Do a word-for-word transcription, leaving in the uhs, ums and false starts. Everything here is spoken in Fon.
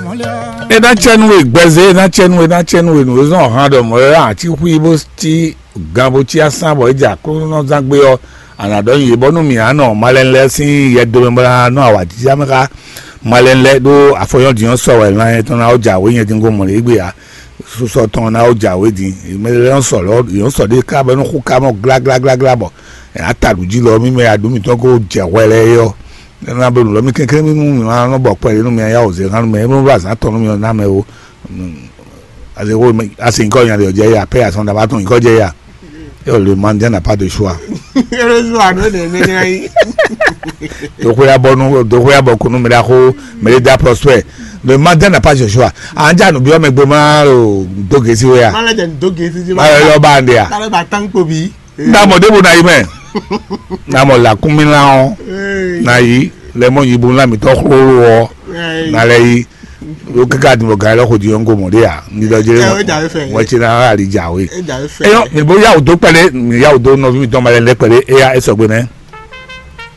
E ná cɛ nú we gbɛzɛ, e ná cɛ nú we, e ná cɛ nú we nǔ e zɔn hàn ɖɔ mɔ̌ e ati xwí bó cí gan bó cí asán bɔ é jɛ Aklúnɔzán gbé ɔ́, a nǎ ɖɔ nyi yě bɔ nú mǐ á nɔ malɛnu lɛ́ɛ sín yɛ dome bó ná nɔ awǎjijɛ mɛ xá. Malɛnu lɛ́ɛ ɖó afɔnyɔ́ din ɔ́ sɔ wɛ lan nyɛ tɔn ná wó jɛ awě nyɛ din gomɔ lě gbe ǎ. Susɔ tɔn ná wó jɛ awě din. Mɛ lɛ́ɛ nɔ sɔ lɔ yě nɔ sɔ ɖé ká bɔ é nɔ xú ká mɔ gláglágláglá bɔ è nǎ ta ɖu jí lɔ mí mɛ aɖǔ mǐtɔn ko jɛ hwɛ lɛ́ɛ é ɔ́. É ná bɛ́ nǔ lɔ mì kɛnklɛ́n mì nú mì ma nɔ bɔ kpɛɖé nú mì yá wǒ zé hán nú mɛ, é nú azǎn tɔn nú mì ɔ́ ná mɛ ó. Asi nyǐkɔ nya ɖe ɔ́ jɛ ya pɛ azɔn ɖaba tɔn nyǐkɔ jɛ ya. Yo, le Mandien n'a pas de choix. Heureusement, non, non, non, non. Doxoya bɔ nu, doxoya bɔ kunu mi da xo, mi da prospect. Le Mandien n'a pas de choix. Anja nu biɔ mɛ gbe ma o do gesi we ya. Mala jɛ do gesi ji ma. Ma yo ba nde ya. Kala ba tan ko bi. Na mɔ debo na yi mɛ. Na mɔ la kumi la o. Na yi le mɔ yibu la mi tɔ xlolo o. Na le yi. Yo kaka di mɔ ga lɔ ko di yɔngo mɔ de ya. Ni dɔ jere. Wɛ ti na ali jawe. Eyɔ mi bo yawu do kpɛlɛ, mi yawu do nɔvi mi tɔn ma lɛ lɛ kpɛlɛ eya esɔgbe nɛ.